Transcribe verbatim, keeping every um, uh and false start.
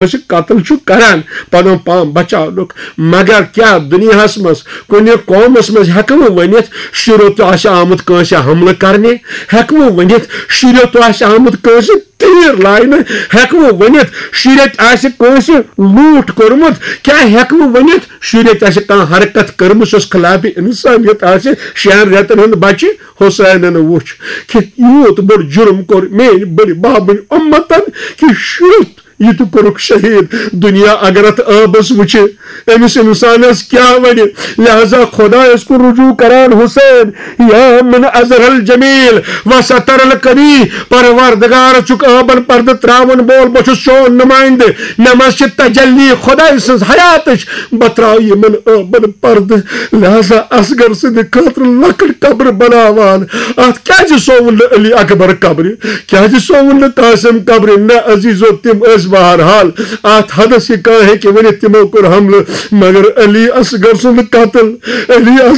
کٲنٛسہِ قتل چھُ کران پنُن پان بچاونُک، مگر کیٛاہ دُنیاہس منٛز کُنہِ قومس منٛز ہٮ۪کہٕ بہٕ ؤنِتھ، شُریو تہِ آسہِ آمُت کٲنٛسہِ حملہٕ کرنہِ؟ ہٮ۪کہٕ بہٕ ؤنِتھ، شُریو تہِ آسہِ آمُت کٲنٛسہِ تیٖر لاینہٕ؟ ہٮ۪کہٕ بہٕ ؤنِتھ، شُرۍ تہِ آسہِ کٲنٛسہِ لوٗٹھ کوٚرمُت؟ کیٛاہ ہٮ۪کہٕ بہٕ ؤنِتھ، شُرۍ تہِ آسہِ کانٛہہ حرکت کٔرمٕژ، یۄس خلاف انسانیت آسہِ؟ شٮ۪ن رٮ۪تن ہُنٛد بچہِ حسینن وُچھ کہِ یوٗت بوٚڑ جُرم کوٚر میٛٲنۍ بٔڑِ بابٕنۍ اُمتن، کہِ شُرۍ یہِ تہِ کوٚرُکھ شہیٖد۔ دُنیا اگر اتھ عٲبس وٕچھِ، أمِس انسانس کیٛاہ ونہِ؟ لہذا خۄدایس کُن رجوع کران حسین، یا من اظہر الجمیل و ستر القبیح، پروردگار چھُکھ عٲبن پردٕ تراون وول، بہٕ چھُس چون نمائندٕ، مےٚ منٛز چھِ تجلی خۄداے سٕنٛز حیاتٕچ، بہٕ تراو یِمن عٲبن پردٕ۔ لہذا اصغر سٕنٛدِ خٲطرٕ لۄکٕٹ قبر بناوان۔ اتھ کیازِ سووُن نہٕ علی اکبر قبرِ؟ کیازِ سووُن نہٕ قاسم قبرِ؟ نہ عزیزو، تِم ٲسۍ بہرحال اتھ حدس، یہِ کانٛہہ ہیٚکہِ ؤنِتھ، تِمو کوٚر حملہٕ، مگر علی اصغر سُنٛد قتل، علی